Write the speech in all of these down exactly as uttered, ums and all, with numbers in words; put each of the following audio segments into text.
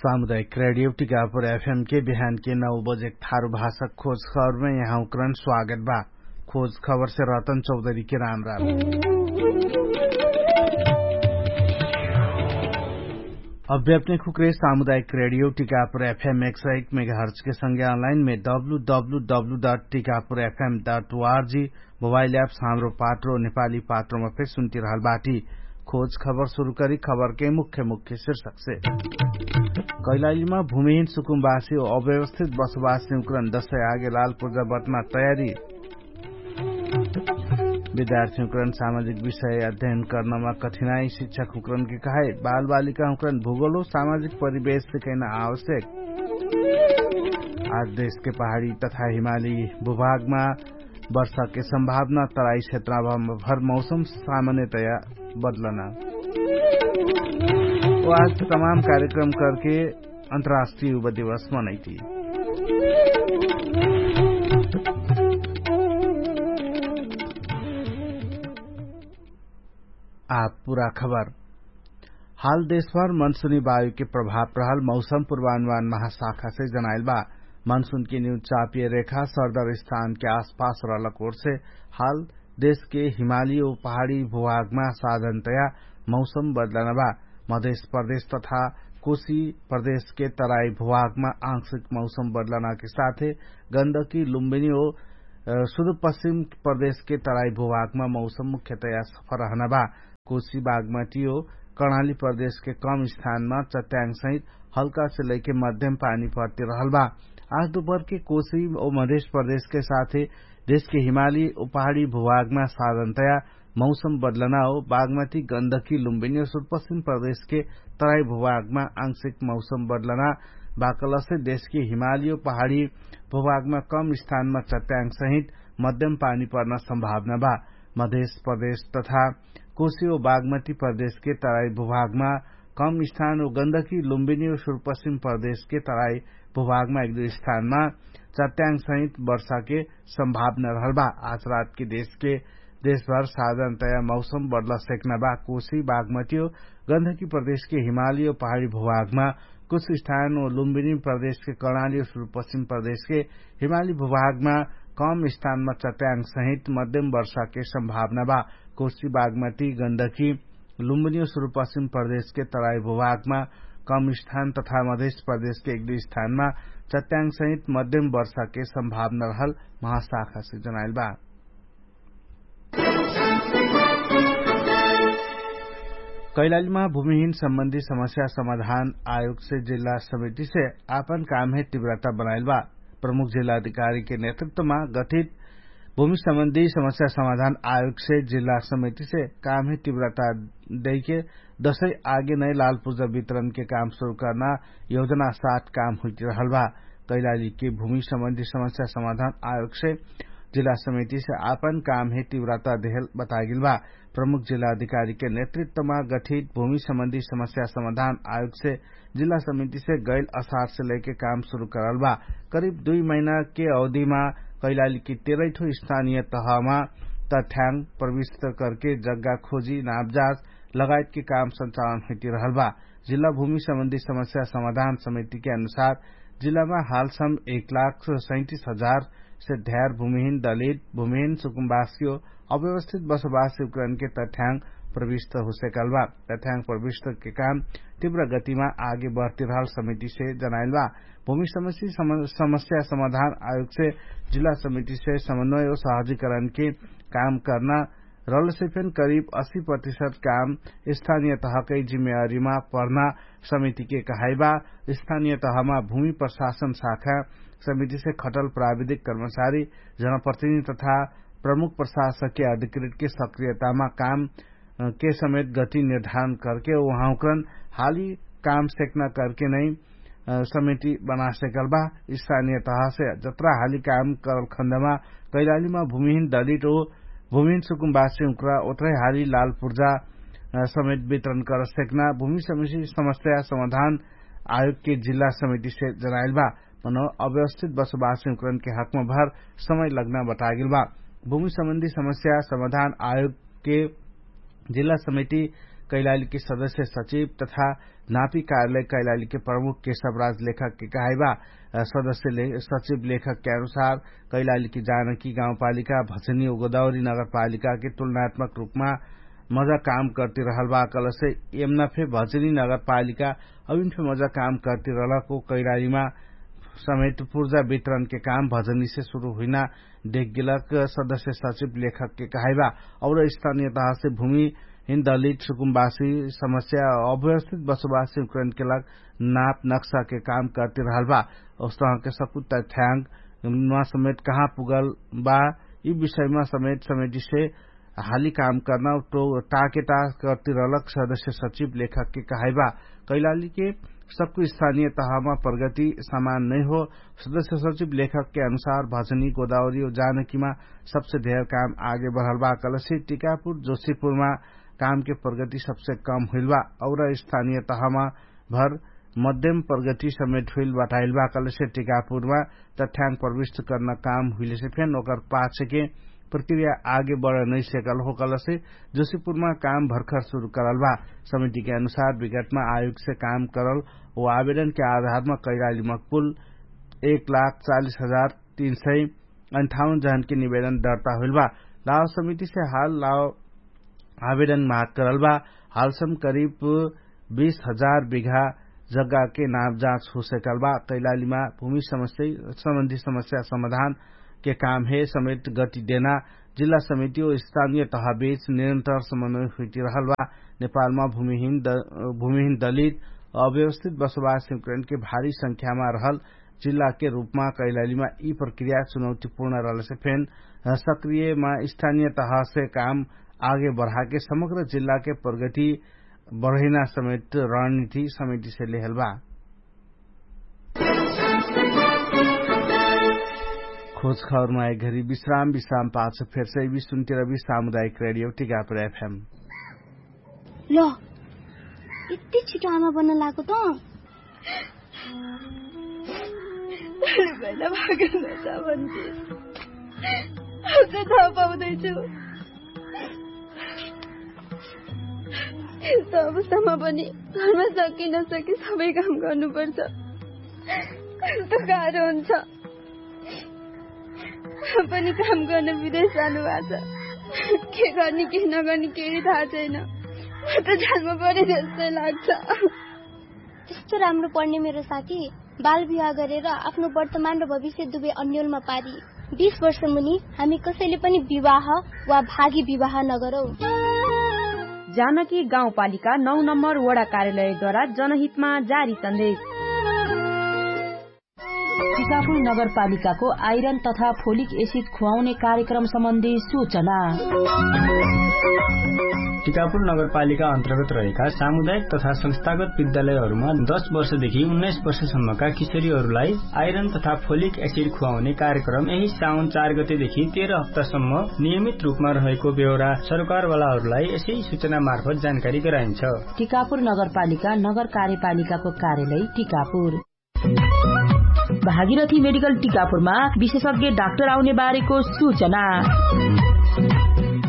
सामुदायिक रेडियो टिकापुर एफएम के बिहान के नौ बजे थारु भाषा खोज खबरमे यहाँ उक्रन स्वागत बा। खोज खबरसे रतन चौधरी के राम राम। अभ्याप्ने खुक्रे सामुदायिक रेडियो टिकापुर एफएम एक सय एक मेगाहर्च के संगे अनलाइन मे W W W dot Tikapur FM dot ORG mobile apps हाम्रो पात्रो नेपाली पात्रोमा फेर सुन्तिरहल बाटी। खोज खबर सुरु करी खबरके मुख्य मुख्य शीर्षकसे। कैलालीमा भूमिहीन सुकुम्बासी अव्यवस्थित बसोबासी उक्रन दशै आगे लाल पुर्जा बटमा तयारी। विद्यार्थी उक्रन सामाजिक विषय अध्ययन कर्नमा कठिनाई शिक्षक उक्रनके कहाई बालबालिका उक्रन भूगोलो सामाजिक परिवेश सिकैना आवश्यक। आज देशके पहाडी तथा हिमाली भूभागमा वर्षाके सम्भावना तराई क्षेत्रमा भर मौसम सामान्यतया बदलना। आज तमाम कार्यक्रम करके अन्तर्राष्ट्रिय उभ दिवस मनैती। आ पुरा खबर। हाल देशभर मनसुनी वायुके प्रभाव रहल मौसम पुर्वानुमान महाशाखासे जनाइल बा। मनसुनके न्यू चापिय रेखा सरदर स्थानके आसपास रहलक ओरसे हाल देशके हिमाली ओ पहाडी भूभागमा साधनतया मौसम बदलना बा। मधेश प्रदेश तथा कोशी प्रदेशके तराई भूभागमा आंशिक मौसम बदलनाके साथे गन्दकी लुम्बिनी ओ सुदुपश्चिम प्रदेशके तराई भूभागमा मौसम मुख्यतया सफर रहना बा। कोशी बागमटी ओ कर्णाली प्रदेशके कम स्थानमा चट्याङ सहित हल्कासे लैके मध्यम पानी पर्ति रहल बा। आज दुपहरके कोशी ओ मधेश प्रदेशके साथे देशके हिमाली ओ पहाडी भूभागमा साधनतया मौसम बदलना हो बागमती गन्दकी लुम्बिनी ओ सुदपश्चिम प्रदेशके तराई भूभागमा आंशिक मौसम बदलना बाकलसे देशके हिमाली ओ पहाडी भूभागमा कम स्थानमा चट्याङ सहित मध्यम पानी पर्ना सम्भावना बा। मधेश प्रदेश तथा कोशी ओ बागमती प्रदेशके तराई भूभागमा कम स्थान ओ गन्दकी लुम्बिनी ओ सुदपश्चिम प्रदेशके तराई भूभागमा एक दुई स्थानमा चट्याङ सहित वर्षाके सम्भावना रहल बा। आज रातके देशके देशभर साधारणतया मौसम बदल सेक्ना बा। कोशी बागमती ओ गन्दकी प्रदेशके हिमाली ओ पहाडी भूभागमा कुछ स्थान ओ लुम्बिनी प्रदेशके कर्णाली ओ सुदपश्चिम प्रदेशके हिमाली भूभागमा कम स्थानमा चट्याङ सहित मध्यम वर्षाके सम्भावना बा। कोशी बागमती गन्दकी लुम्बिनी ओ सुदपश्चिम प्रदेशके तराई भूभागमा कम स्थान तथा मधेश प्रदेशके एक दुई स्थानमा चट्याङ सहित मध्यम वर्षाके सम्भावना रहल महाशाखासे जनाइल बा। कैलालीमा भूमिहीन सम्बन्धी समस्या समाधान आयोगसे जिल्ला समितिसे आपन कामहे तीव्रता बनाइल बा। प्रमुख जिल्ला अधिकारीके नेतृत्वमा गठित भूमि सम्बन्धी समस्या समाधान आयोगसे जिल्ला समितिसे कामहे तीव्रता दैके दशै आगे नै लालपुर्जा वितरणके काम सुरु कर्ना योजना साथ काम हुइटिरहल बा। कैलालीके भूमि सम्बन्धी समस्या समाधान आयोगसे जिल्ला समितिसे आपन कामहे तीव्रता देहल बतागेल बा। प्रमुख जिल्ला अधिकारीके नेतृत्वमा गठित भूमि सम्बन्धी समस्या समाधान आयोगसे जिल्ला समितिसे गैल असारसे लैके काम सुरु करल बा। करिब दुई महिनाके अवधिमा कैलालीके तेरैठो स्थानीय तहमा तठ्याङ प्रविष्ट करके जग्गा खोजी नापजाँच लगायतके काम सञ्चालन हुइटिरहल बा। जिल्ला भूमि सम्बन्धी समस्या समाधान समितिके अनुसार जिल्लामा हालसम एक लाख सैतिस हजार से ध्यार भूमिहीन दलित भूमिहीन सुकुम्बासियो अव्यवस्थित बसोबासी उक्राइनके तठ्याङ प्रविष्ट हुसेकल बा। तठ्याङ प्रविष्टके काम तीव्र गतिमा आगे बढतिरहल समितिसे जनाइल बा। भूमि समस्या समाधान आयोगसे जिल्ला समितिसे समन्वय ओ सहजीकरणके काम कर्ना रलसे फेन करिब अस्सी प्रतिशत काम स्थानीय तहकै जिम्मेवारीमा पर्ना समितिके कहाइबा। स्थानीय तहमा भूमि प्रशासन शाखा समितिसे खटल प्राविधिक कर्मचारी जनप्रतिनिधि तथा प्रमुख प्रशासकके अधिकृतके सक्रियतामा काम के समेत गति निर्धारण करके उहाँउक्रन हाली काम सेक्ना करके नै समिति बनासेकल बा। स्थानीय तहसे जत्रा हाली काम करल खन्दमा कैलालीमा भूमिहीन दलित ओ भूमिहीन सुकुम्बासी उक्रा ओत्रै हाली लालपुर्जा समेत वितरण करसेक्ना भूमि समिति समस्या समाधान आयोगके जिल्ला समितिसे जनाइल बा। मनो अव्यवस्थित बसोबासी उक्राइनके हकमा भर समय लग्ना बतागेल बा। भूमि सम्बन्धी समस्या समाधान आयोगके जिल्ला समिति कैलालीके सदस्य सचिव तथा नापी कार्यालय कैलालीके प्रमुख केशवराज लेखकके कहाइबा। सदस्य सचिव लेखकके अनुसार कैलालीके जानकी गाउँपालिका भचनी गोदावरी नगरपालिकाके तुलनात्मक रूपमा मजा काम करती रहल बा। कलसे यमना फे भचनी नगरपालिका अभिन फे मजा काम करती रहलको कैलालीमा समेत पुर्जा वितरणके काम भजनीसे सुरु हुइना देखगेलक सदस्य सचिव लेखकके कहाइबा। और स्थानीय तहसे भूमिहिन दलित सुकुम्बासी समस्या अव्यवस्थित बसोबासी उक्रेनके लग नाप नक्साके काम करती रहल बा। उस्तहके सकुत्ता थ्याङ्ग मा समेत कहाँ पुगल बा यि विषयमा समेत समेटिसे हाली काम कर्ना टाकेटाक करती रहलक सदस्य सचिव लेखकके कहाइबा। कैलालीके सबको स्थानीय तहमा प्रगति समान नैहो। सदस्य सचिव लेखकके अनुसार भजनी गोदावरी जानकीमा सबसे धेर काम आगे बढल बा कलसे टिकापुर जोशीपुरमा कामके प्रगति सबसे कम हुइल बा। और स्थानीय तहमा भर मध्यम प्रगति समेट हुइल बटाइल बा कलसे टिकापुरमा तथ्याङ्ग प्रविष्ट कर्ना काम हुइलेसे फेन ओकर पाछेके प्रक्रिया आगे बढ नैसेकल हो कलसे जोशीपुरमा काम भर्खर सुरु करल बा। समितिके अनुसार विगतमा आयोगसे काम करल ओ आवेदनके आधारमा कैलालीमा कुल एक लाख चालिस हजार तीन सय अन्ठाउन जहनके निवेदन दर्ता होइल बा। लाव समितिसे हाल लाव आवेदन माग करल बा। हालसम करिब बीस हजार बिघा जग्गाके नाप जाँच हुसेकल बा। कैलालीमा भूमि समस्या सम्बन्धी समस्या समाधानके काम हे समेत गति देना जिल्ला समिति ओ स्थानीय तहबेच निरन्तर समन्वय हुइति रहल बा। नेपालमा भूमिहिन दलित अव्यवस्थित बसोबास सिमकरणके भारी संख्यामा रहल जिल्लाके रूपमा कैलालीमा यि प्रक्रिया चुनौतीपूर्ण रहलसे फेन सक्रियमा स्थानीय तहसे काम आगे बढाके समग्र जिल्लाके प्रगति बढैना समेत रणनीति समितिसे लेहल बा। खोज खबरमा एक घरी विश्राम विश्राम पाछ फेरसे विश्वन्तिर विश्राम सामुदायिक रेडियो टिकापुर एफएम। ल यति छिटो आमा बन्न लागो त। पहिला भागेन त भन्थे। अब त थाहा पाउँदैछु। यस्तो अवस्थामा पनि घरमा सके नसके सबै काम गर्नुपर्छ। कस्तो गाह्रो हुन्छ। पनि काम गर्न विदेश जानुभएको छ। के गर्ने के नगर्ने केही थाहा छैन। म त जान्नु पर्यो जस्तै लाग्छ। त्यस्तो राम्रो पढ्ने मेरो साथी बाल विवाह गरेर आफ्नो वर्तमान र भविष्य दुवै अन्यलमा पारी। बीस वर्ष मुनि हामी कसैले पनि विवाह वा भागी विवाह नगरौँ। जानकी गाउँपालिका नौ नम्बर वडा कार्यालयद्वारा जनहितमा जारी सन्देश। टिकापुर नगरपालिकाको आइरन तथा फोलिक एसिड खुवाउने कार्यक्रम सम्बन्धी सूचना। टिकापुर नगरपालिका अन्तर्गत रहेका सामुदायिक तथा संस्थागत विद्यालयहरूमा दस वर्षदेखि उन्नाइस वर्षसम्मका किशोरीहरूलाई आइरन तथा फोलिक एसिड खुवाउने कार्यक्रम यही साउन चार गतेदेखि तेह्र हप्तासम्म नियमित रूपमा रहेको बेहोरा सरकारवालाहरूलाई यसै सूचना मार्फत जानकारी गराइन्छ। टिकापुर नगरपालिका नगर कार्यपालिकाको कार्यालय टिकापुर। भागीरथी मेडिकल टिकापुरमा विशेषज्ञ डाक्टर आउने बारेको सूचना।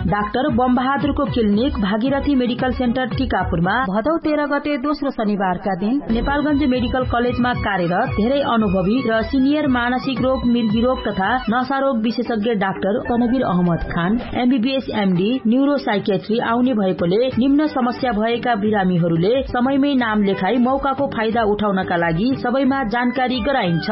डाक्टर बमबहादुरको क्लिनिक भागीरथी मेडिकल सेन्टर टिकापुरमा भदौ तेह्र गते दोस्रो शनिबारका दिन नेपालगञ्ज मेडिकल कलेजमा कार्यरत धेरै अनुभवी र सिनियर मानसिक रोग मिर्गी रोग तथा नशा रोग विशेषज्ञ doctor Tanveer Ahmad Khan MBBS MD neuro psychiatry आउने भएकोले निम्न समस्या भएका बिरामीहरूले समयमै नाम लेखाई मौकाको फाइदा उठाउनका लागि सबैमा जानकारी गराइन्छ।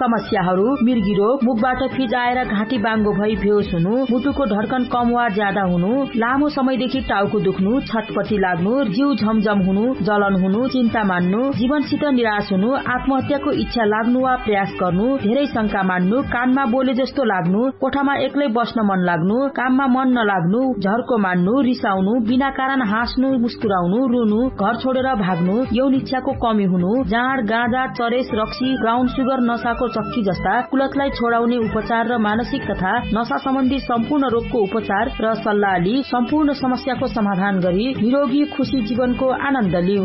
समस्याहरू मिर्गी रोग मुखबाट फिजाएर घाँटी बाङ्गो भई भेउस हुनु मुटुको ढर्कन कम वा ज्यादा हुनु लामो समयदेखि टाउको दुख्नु छटपटी लाग्नु जिउ झमझम हुनु जलन हुनु चिन्ता मान्नु जीवनसित निराश हुनु आत्महत्याको इच्छा लाग्नु वा प्रयास गर्नु धेरै शंका मान्नु कानमा बोले जस्तो लाग्नु कोठामा एक्लै बस्न मन लाग्नु काममा मन नलाग्नु झर्को मान्नु रिसाउनु बिना कारण हाँस्नु मुस्कुराउनु रुनु घर छोडेर भाग्नु यौन इच्छाको कमी हुनु जाँड गाँजा चरेस रक्सी ब्राउन सुगर नसाको चक्की जस्ता कुलतलाई छोडाउने उपचार र मानसिक तथा नसा सम्बन्धी सम्पूर्ण रोगको उपचार र सल्लाह लि सम्पूर्ण समस्याको समाधान गरी निरोगी खुशी जीवनको आनन्द लिउ।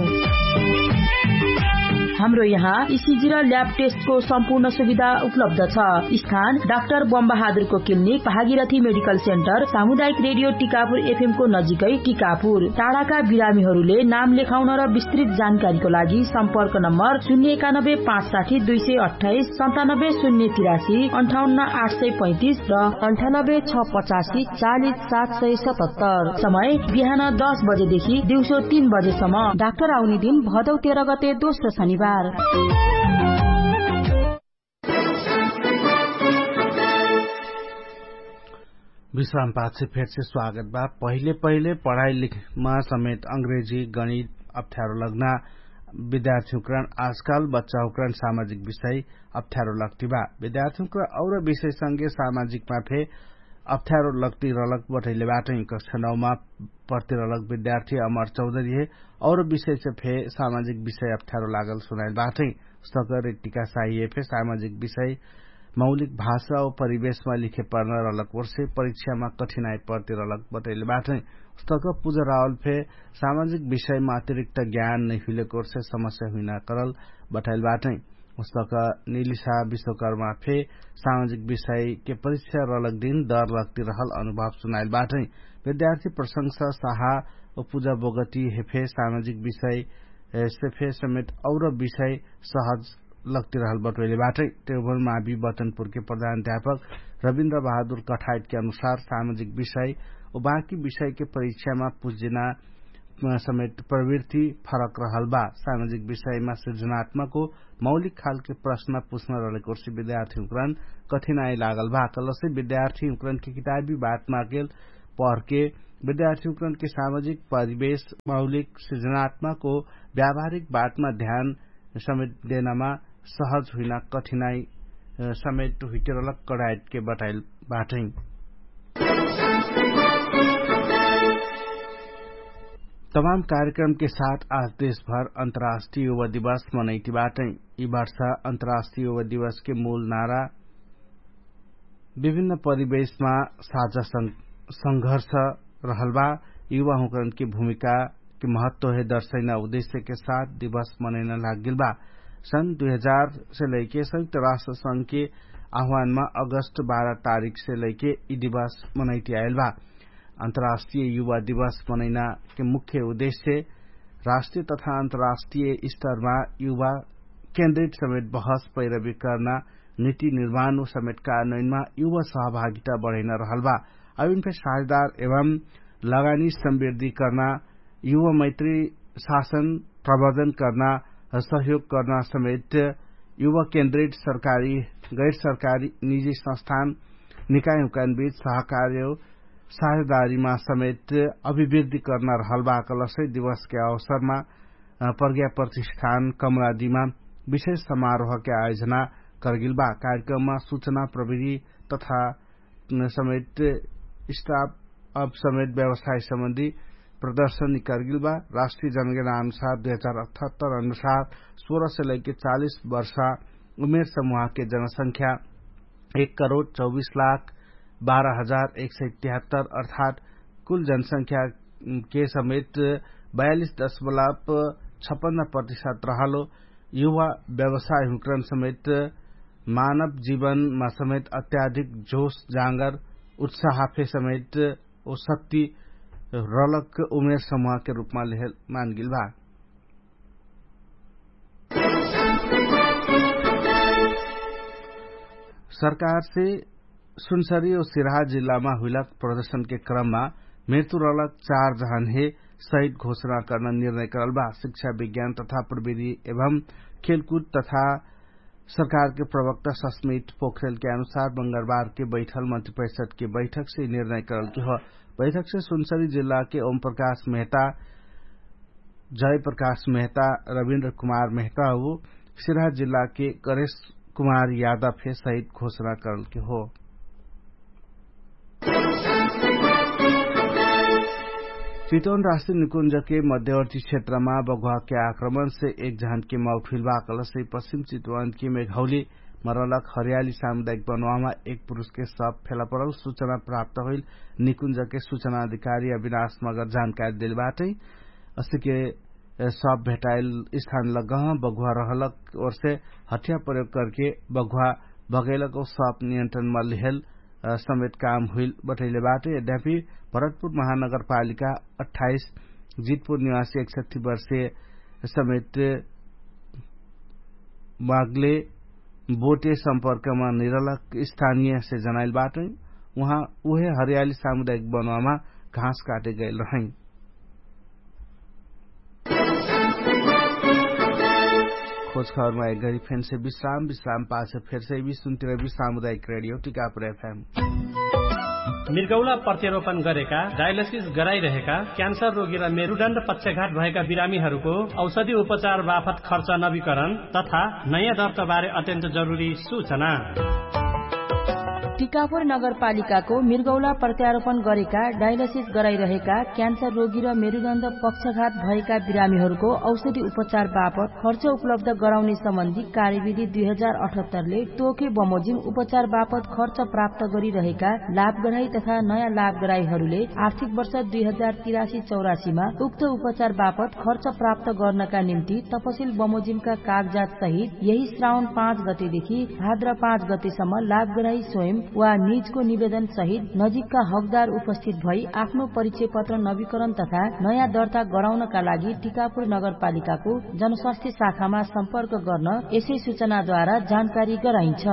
हाम्रो यहाँ इसिजी र ल्याब टेस्टको सम्पूर्ण सुविधा उपलब्ध छ। स्थान डाक्टर बमबहादुरको क्लिनिक, भागीरथी मेडिकल सेन्टर, सामुदायिक रेडियो टिकापुर एफएमको नजिकै टिकापुर। टाढाका बिरामीहरूले नाम लेखाउन र विस्तृत जानकारीको लागि सम्पर्क नम्बर शून्य एकानब्बे पाँच साठी दुई सय अट्ठाइस सन्तानब्बे शून्य तिरासी अन्ठाउन्न आठ सय पैँतिस र अन्ठानब्बे छ पचासी चालिस सात सय सतहत्तर। समय बिहान दस बजेदेखि दिउँसो तीन बजेसम्म। डाक्टर आउने दिन भदौ तेह्र गते दोस्रो शनिबार। विश्राम पाछे फेरसे स्वागत बा। पहिले पहिले पढाइ लिखमा समेत अंग्रेजी गणित अप्ठ्यारो लग्ना विद्यार्थीहुँकरण आजकाल बच्चाहुँकरण सामाजिक विषय अप्ठ्यारो लग्ति बा। विद्यार्थीहुँकरण और विषयसँगे सामाजिकमा फे अप्ठ्यारो लग्ति रलक बटैले बाटै। कक्षा नौमा पर्ति रलक विद्यार्थी अमर चौधरी हे और विषयसे फे सामाजिक विषय अप्ठ्यारो लागल सुनाइल बाटै। सक रेटिका साहिए फे सामाजिक विषय मौलिक भाषा और परिवेशमा लिखे पर्न रलक वर्षे परीक्षामा कठिनाइ पर्ति रलक बटैले बाटै। सक पुजरावल फे सामाजिक विषयमा अतिरिक्त ज्ञान नै हुइलेक वर्षे समस्या हुइना करल बटैल बाटै। सक निलिसा विश्वकर्मा फे सामाजिक विषयके परीक्षा रलक दिन दर लग्ति रहल अनुभव सुनाइल बाटै। विद्यार्थी प्रशंसा साहा और पुजा बोगती हे फे सामाजिक विषय से फे समेत और विषय सहज लग्ति रहल बटोइले बाटै। तेउभर मावी बतनपुरके प्रधान अध्यापक रविन्द्र बहादुर कठाइटके अनुसार सामाजिक विषय और बाँकी विषयके परीक्षामा पुज्जिना समेत प्रवृत्ति फरक रहल बा। सामाजिक विषयमा सिर्जनात्मक और मौलिक खालके प्रश्न पुछ्न रहलेक वर्षी विद्यार्थीहुँकरण कठिनाइ लागल बा। कलसे विद्यार्थीहुँकरणके किताबी बातमा गेल पहरके विद्यार्थीहुँकरणके सामाजिक परिवेश मौलिक सिर्जनात्मक और व्यावहारिक बातमा ध्यान समेत देनामा सहज हुइना कठिनाइ समेत हुइटिरलक कडाइटके बटाइल बाटै। तमाम कार्यक्रमके साथ आज देशभर अन्तर्राष्ट्रिय युवा दिवस मनैति बाटै। यि वर्ष अन्तर्राष्ट्रिय युवा दिवसके मूल नारा विभिन्न परिवेशमा साझा संघर्ष रहल बा। युवाहुँकरणके भूमिकाके महत्व हे दर्शैना उद्देश्यके साथ दिवस मनैना लागगेल बा। सन् दुई हजार से लैके संयुक्त राष्ट्र संघके आह्वानमा अगस्त बाह्र तारिखसे लैके यि दिवस मनैति आइल बा। अन्तर्राष्ट्रिय युवा दिवस मनैनाके मुख्य उद्देश्य राष्ट्रिय तथा अन्तर्राष्ट्रिय स्तरमा युवा केन्द्रित समेत बहस पैरवी कर्ना नीति निर्माण उ समेत कानैनमा युवा सहभागिता बढैना रहल बा। अभिन फे साझेदार एवं लगानी समृद्धि कर्ना युवा मैत्री शासन प्रवर्धन कर्ना सहयोग कर्ना समेत युवा केन्द्रित सरकारी गैर सरकारी निजी संस्थान निकायहुँकान बीच सहकार्य साझेदारीमा समेत अभिवृद्धि कर्ना रहल बा। कलसै दिवसके अवसरमा प्रज्ञा प्रतिष्ठान कमरादीमा विशेष समारोहके आयोजना करगेल बा। कार्यक्रममा सूचना प्रविधि तथा समेत स्टाफ अप समेत व्यवसाय सम्बन्धी प्रदर्शनी करगेल बा। राष्ट्रिय जनगणना अनुसार दुई हजार अठहत्तर अनुसार सोह्र से लैके चालिस वर्ष उमेर समुहके जनसंख्या एक करोड चौबिस लाख बाह्र हजार एक सय तिहत्तर अर्थात् कुल जनसंख्याके समेत बयालिस दशमलव छपन्न प्रतिशत रहलो। युवा व्यवसाय हुँकरण समेत मानव जीवनमा समेत अत्याधिक जोश जाँगर उत्साह फे समेत ओ शक्ति रलक उमेर समुहके रूपमा लेहल मानगेल बा। सरकारसे सुनसरी और सिरहा जिल्लामा हुइलक प्रदर्शनके क्रममा मृत्यु रलक चार जहन हे शहीद घोषणा कर्न निर्णय करल बा। शिक्षा विज्ञान तथा प्रविधि एवं खेलकुद तथा सरकारके प्रवक्ता सस्मित पोखरेलके अनुसार मंगलबारके बैठल मन्त्री परिषदके बैठकसे निर्णय करलके हो। बैठकसे सुनसरी जिल्लाके ओम प्रकाश मेहता जय प्रकाश मेहता रविन्द्र कुमार मेहता हो सिरहा जिल्लाके करेश कुमार यादव हे शहीद घोषणा करलके हो। चितवन राष्ट्रिय निकुञ्जके मध्यवर्ती क्षेत्रमा बगुवाके आक्रमणसे एक जहनके मौत हुइल बा। कलसै पश्चिम चितवनके मेघौली मरलक हरियाली सामुदायिक बनवामा एक पुरुषके सब फेला परल सूचना प्राप्त होइल निकुञ्जके सूचना अधिकारी अविनाश मगर जानकारी देल बाटै। असिके सब भेटाइल स्थान लगह बघुवा रहलक ओर्से हठिया प्रयोग करके बघुवा भगैलक औ सब नियन्त्रण मल्लिहेल समेत काम हुइल बटैले बाटे। यद्यापि भरतपुर महानगरपालिका अठाइस जितपुर निवासी एकसठी वर्षे समेत मागले बोटे सम्पर्कमा निरलक स्थानियसे जनाइल बाटै। उहाँ उहे हरियाली सामुदायिक बनवामा घाँस काटे गैल रहै। खोज खबरमा एक घरी फेन्से विश्राम विश्राम पाछ फेर्से विश्राम सामुदायिक रेडियो टिकापुर एफएम। मृगौला प्रत्यारोपण गरेका डायलिसिस गराइरहेका क्यान्सर रोगी र मेरुदण्ड पक्षघात भएका बिरामीहरूको औषधि उपचार बापत खर्च नवीकरण तथा नयाँ दर्ताबारे अत्यन्त जरुरी सूचना। टिकापुर नगरपालिकाको मृगौला प्रत्यारोपण गरेका डायलिसिस गराइरहेका क्यान्सर रोगी र मेरुदण्ड पक्षघात भएका बिरामीहरूको औषधि उपचार बापत खर्च उपलब्ध गराउने सम्बन्धी कार्यविधि दुई हजार अठहत्तरले तोके बमोजिम उपचार बापत खर्च प्राप्त गरिरहेका लाभग्राही तथा नयाँ लाभग्राहीहरूले आर्थिक वर्ष दुई हजार तिरासी चौरासीमा उक्त उपचार बापत खर्च प्राप्त गर्नका निम्ति तपसिल बमोजिमका कागजात सहित यही श्रावण पाँच गतेदेखि भाद्र पाँच गतेसम्म लाभग्राही स्वयं वा निजको निवेदन सहित नजिकका हकदार उपस्थित भई आफ्नो परिचय पत्र नवीकरण तथा नयाँ दर्ता गराउनका लागि टिकापुर नगरपालिकाको जनस्वास्थ्य शाखामा सम्पर्क गर्न यसै सूचनाद्वारा जानकारी गराइन्छ।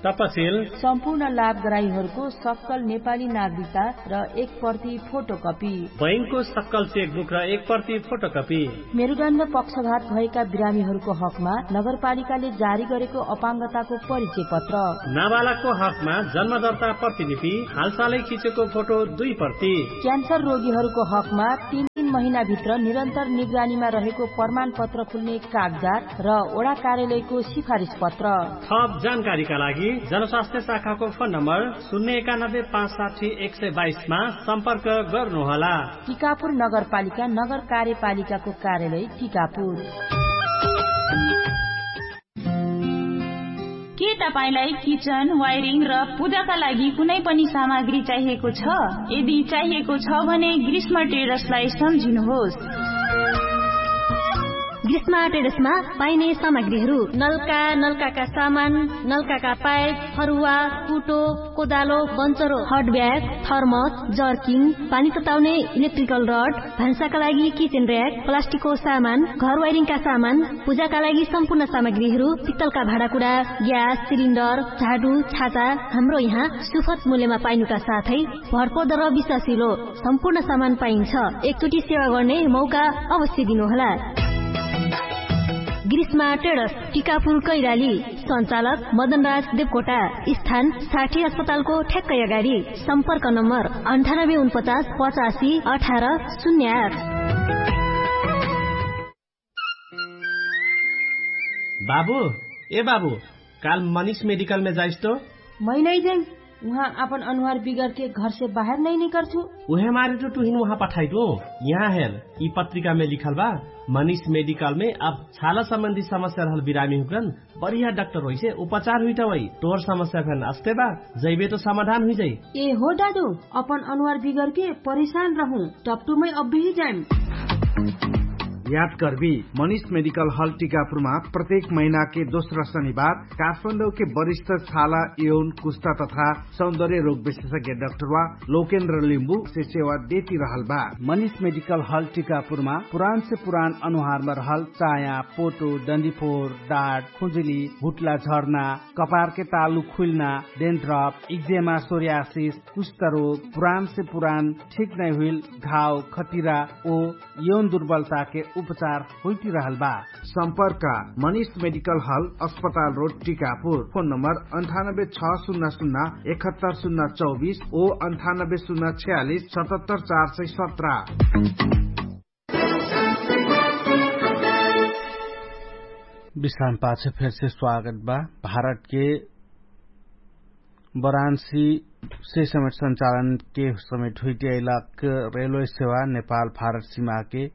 तपसिल सम्पूर्ण लाभग्राहीहरूको सक्कल नेपाली नागरिकता र एक प्रति फोटोकपी, बैंकको सक्कल चेकबुक र एक प्रति फोटोकपी, मेरुदण्ड पक्षघात भएका बिरामीहरूको हकमा नगरपालिकाले जारी गरेको अपाङ्गताको परिचय पत्र, नाबालकको हकमा जन्मदर्ता प्रतिलिपि, हालसालै खिचेको फोटो दुई प्रति, क्यान्सर रोगीहरूको हकमा तीन तीन महिनाभित्र निरन्तर निगरानीमा रहेको प्रमाणपत्र खुल्ने कागजात र वडा कार्यालयको सिफारिस पत्र। थप जानकारीका लागि जनस्वास्थ्य शाखाको फोन नम्बर शून्य एकानब्बे पाँच साठी एक सय बाइसमा सम्पर्क गर्नुहोला। टिकापुर नगरपालिका नगर कार्यपालिकाको कार्यालय टिकापुर। के तपाईंलाई किचन वायरिङ र पूजाका लागि कुनै पनि सामग्री चाहिएको छ? यदि चाहिएको छ भने ग्रीष्म ट्रेडर्सलाई सम्झिनुहोस्। ग्रीष्म ट्रेडर्समा पाइने सामग्रीहरू नल्का, नल्काका सामान, नल्काका पाइप, फरुवा, कुटो, कोदालो, बन्चरो, हट ब्याग, थर्मस, जर्किङ, पानी तताउने इलेक्ट्रिकल रड, भान्साका लागि किचेन र्‍याक, प्लास्टिकको सामान, घर वायरिङका सामान, पूजाका लागि सम्पूर्ण सामग्रीहरू, पित्तलका भाँडाकुडा, ग्यास सिलिन्डर, झाडु, छाता, हाम्रो यहाँ सुफत मूल्यमा पाइनुका साथै भरपर्दो र विश्वासिलो सम्पूर्ण सामान पाइन्छ। एकचोटि सेवा गर्ने मौका अवश्य दिनुहोला। ग्रीष्मा ट्रेडर्स, टिकापुर कैराली। सञ्चालक मदनराज देवकोटा। स्थान साठी अस्पतालको ठ्याक्कै अगाडि। सम्पर्क नम्बर अन्ठानब्बे उनपचास पचासी अठार शून्य आठ। बाबु, ए बाबु, काल मनिष मेडिकलमे जाइस तो? मै नै जाइम। उहाँ आपन अनुहार बिगरके घरसे बाहेर नै निकर्छु। उहे मारे तो तुहिन उहाँ पठाइदु। यहाँ हेर, यि पत्रिकामे लिखल बा, मनिष मेडिकलमे अब छाला सम्बन्धी समस्या रहल बिरामी हुकरन बढिया डाक्टर होइसे उपचार हुइटा वइ। तोर समस्या फेन अस्ते बा, जैबे तो समाधान हुइजाइ। ए हो दादु, अपन अनुहार बिगरके परेशान रहु, टपटुमै अब्बेही जाइम। याद करबी, मनिष मेडिकल हल टिकापुरमा प्रत्येक महिनाके दोस्रा शनिबार काठमाडौके वरिष्ठ छाला, यौन, कुस्ता तथा सौन्दर्य रोग विशेषज्ञ डाक्टरवा लोकेन्द्र लिम्बुसे सेवा देति रहल बा। मनिष मेडिकल हल टिकापुरमा पुरानसे पुरान अनुहारमा रहल चाया, पोटो, डन्डीफोर, डाट, खुजुली, भुट्ला झर्ना, कपारके तालु खुइल्ना, डेन्ड्रप, इक्जेमा, सोर्यासिस, कुष्ठरोग, पुरानसे पुरान ठिक नै हुइल घाव, खटिरा ओ यौन दुर्बलताके उपचार हुइटिरहल बा। सम्पर्क मनिष मेडिकल हल, अस्पताल रोड, टिकापुर। फोन नम्बर अन्ठानब्बे छ शून्य शून्य एकहत्तर शून्य चौबिस ओ अन्ठानब्बे शून्य छयालिस सतहत्तर चार सय सत्र। विश्राम पाछ फेरसे स्वागत बा। भारतके वाराणसी से समेट सञ्चालनके समेट हुइटियाइलाक रेलवे सेवा नेपाल भारत सिमाके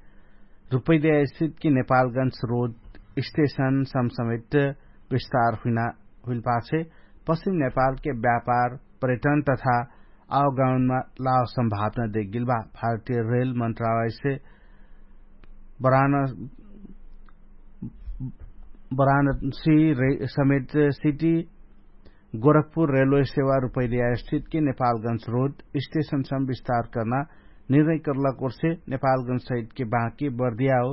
रुपैद्या स्थितके नेपालगंज रोड स्टेशन सम समेट विस्तार हुइना हुइल पाछे पश्चिम नेपालके व्यापार पर्यटन तथा आवगाउनमा लाव सम्भावना देखगेल बा। भारतीय रेल मन्त्रालयसे बराणसी समेत सिटी गोरखपुर रेलवे सेवा रुपैलिया स्थितके नेपालगंज रोड स्टेशनसम विस्तार कर्ना निर्णय कर्लक ओर्से नेपालगंज सहितके बाँके बर्दिया हो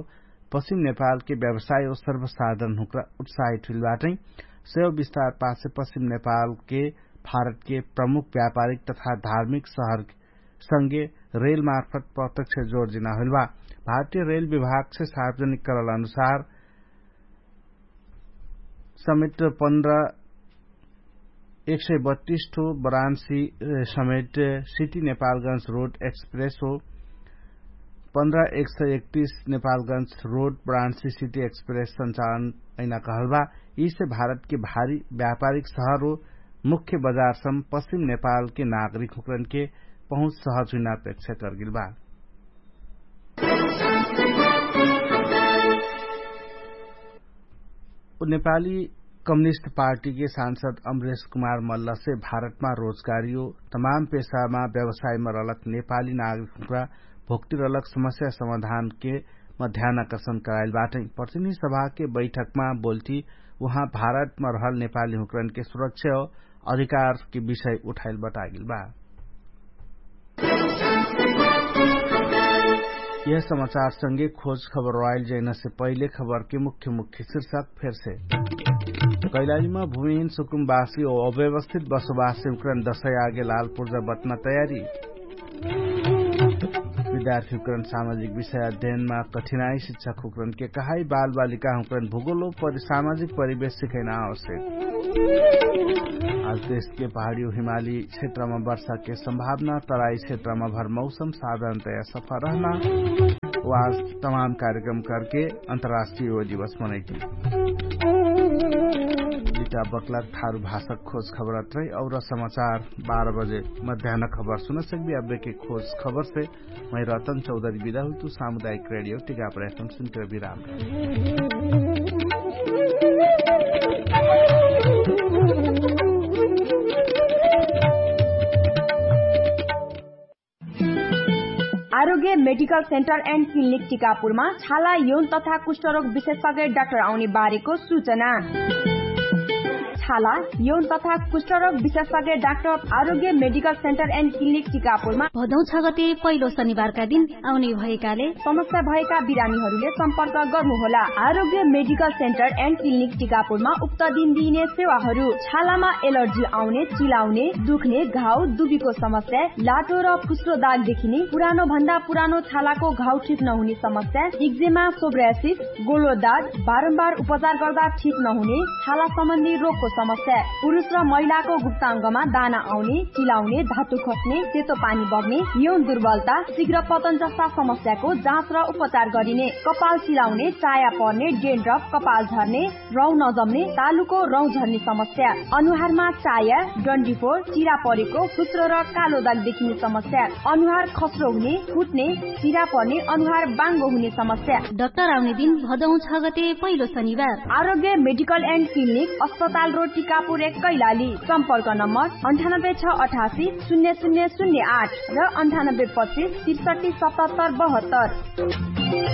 पश्चिम नेपालके व्यवसाय हो सर्वसाधन हुँक्रा उत्साहित हुइल बाटै। सेवा विस्तार पाछे पश्चिम नेपालके भारतके प्रमुख व्यापारिक तथा धार्मिक शहर संगे रेलमार्फत प्रत्यक्ष जोर्जिना होइल बा। भारतीय रेल विभागसे सार्वजनिक करल अनुसार समेत पन्ध्र एक सय बत्तीस ठो बराणसी समेत सिटी नेपालगंज रोड एक्सप्रेस हो पन्ध्र एक सय एकतीस नेपालगंज रोड बराणसी सिटी एक्सप्रेस सञ्चालन ऐना कहल बा। यीसे भारतके भारी व्यापारिक शहर हो मुख्य बजारसम पश्चिम नेपालके नागरिक हुँकरनके पहुँच सहज हुइना अपेक्षा करगेल बा। नेपाली कम्युनिस्ट पार्टीके सांसद अमरेश कुमार मल्लसे भारतमा रोजगारीयो तमाम पेशामा व्यवसायमा रहलक नेपाली नागरिकहुँक्रा भोक्तिरलक समस्या समाधानके मध्यानाकर्षण कराइल बाटै। प्रतिनिधि सभाके बैठकमा बोल्थी उहाँ भारतमा रहल नेपालीहुँक्रनके सुरक्षा हो अधिकारके विषय उठाइल बटागेल बा। यह समाचारसँगे खोज खबर रोइल जैनसे पहिले खबरके मुख्य मुख्य शीर्षक फेरसे। कैलालीमा भूमिहीन सुकुमवासी ओ अव्यवस्थित बसोबासी हुँक्रन दशै आगे लाल पुर्जा बट्ना तयारी। विद्यार्थी हुँक्रन सामाजिक विषय अध्ययनमा कठिनाई शिक्षक हुँक्रनके कहाई बालबालिका हुँक्रन भूगोलो सामाजिक परिवेश सिखैना आवश्यक। आज देशके पहाडियो हिमाली क्षेत्रमा वर्षाके सम्भावना तराई क्षेत्रमा भर मौसम साधारणतया सफा रहना। वास तमाम कार्यक्रम करके अन्तर्राष्ट्रिय योग दिवस मनैती। बिटा बक्लक ठारु भाषक खोज खबरत रही और समाचार बाह्र बजे मध्यान खबर सुनसकबी अब्बेके खोज खबरसे। मै रतन चौधरी बिदा हुइतु सामुदायिक रेडियो टिका प्रयत्न सुनके विराम। आरोग्य मेडिकल सेन्टर एन्ड क्लिनिक टिकापुरमा छाला यौन तथा कुष्ठरोग विशेषज्ञ डाक्टर आउने बारेको सूचना। छाला यौन तथा कुष्ठरोग विशेषज्ञ डाक्टर आरोग्य मेडिकल सेन्टर एन्ड क्लिनिक टिकापुरमा भदौ छ गते पहिलो शनिबारका दिन आउने भएकाले समस्या भएका बिरामीहरूले सम्पर्क गर्नुहोला। आरोग्य मेडिकल सेन्टर एन्ड क्लिनिक टिकापुरमा उक्त दिन दिइने सेवाहरू छालामा एलर्जी आउने, चिलाउने, दुख्ने, घाउ दुबीको समस्या, लाटो र फुस्रो दाग देखिने, पुरानो भन्दा पुरानो छालाको घाउ ठिक नहुने समस्या, इक्जेमा, सोब्रासिस, गोलो दाग, बारम्बार उपचार गर्दा ठिक नहुने छाला सम्बन्धी रोगको समस्या, पुरुष र महिलाको गुप्ताङ्गमा दाना आउने, चिलाउने, धातु खस्ने, सेतो पानी बग्ने, यौन दुर्बलता, शीघ्र पतन जस्ता समस्याको जाँच र उपचार गरिने, कपाल चिलाउने, चाया पर्ने, डेन्ड्रफ, कपाल झर्ने, रौँ नजम्ने, तालुको रौँ झर्ने समस्या, अनुहारमा चाया, डन्डीफोर, चिरा परेको, फुस्रो र कालो दाग देखिने समस्या, अनुहार खस्रो हुने, फुट्ने, चिरा पर्ने, अनुहार बाङ्गो हुने समस्या। डाक्टर आउने दिन भदौ छ गते पहिलो शनिबार। आरोग्य मेडिकल एन्ड क्लिनिक, अस्पताल रोड, टिकापुर एक, कैलाली। सम्पर्क नम्बर अन्ठानब्बे छ अठासी शून्य शून्य शून्य आठ र अन्ठानब्बे पच्चिस त्रिसठी सतहत्तर बहत्तर।